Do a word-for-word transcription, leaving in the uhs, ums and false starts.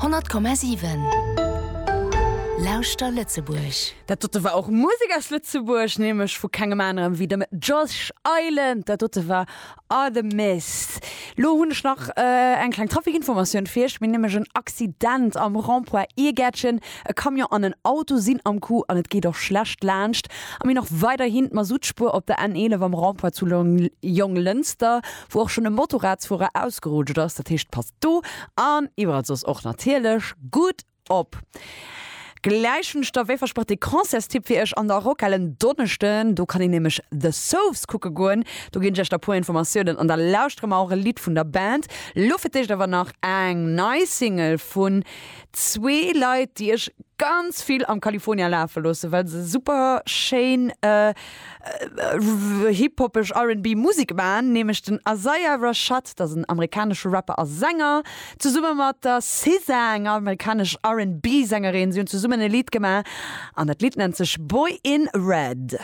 honnert Komma siwen. Lauschter Lëtzebuerg. Dat dote war och Musek aus Lëtzebuerg, nämlech vu kengem anerem wéi dem Josh Island. Dat dote war Artemis. Lo hunn ech nach eng kleng Trafikinformatioun fir iech. Mir hunn nämlech en Accident am Rond-point Iergäertchen. E Camion an en Auto sinn am Coup an et geet och schlecht laanscht. A mir hunn och weiderhin d'Masuttspuer op der N eelef am Rond-point zu Jonglënster, wou och schonn e Motorradsfuerer ausgerutscht ass. Dat heescht, passt do an iwwerall soss och natierlech gutt op. Gläich hunn ech da wéi versprach de Concertstipp fir iech an der Rockhal en Donneschden. Do kann een nämlech The Sofs kucke goen. Do ginn ech iech da puer Informatiounen an da lauschtere mer och e Lidd vun der Band. Lo fir d'éischt awer nach eng nei Single vun zwee Leit, déi ech ganz vill am California lafe loossen, well se super schéin hip-hopeg R and B Musek man, nämlech den Isaiah Rashad, dat ass en amerikanesche Rapper a Sänger, zesumme mat der S Z A, enger amerikanesch R and B Sängerin. Si hunn zesummen e Lidd gemaach an dat Lidd nennt sech Boy in Red.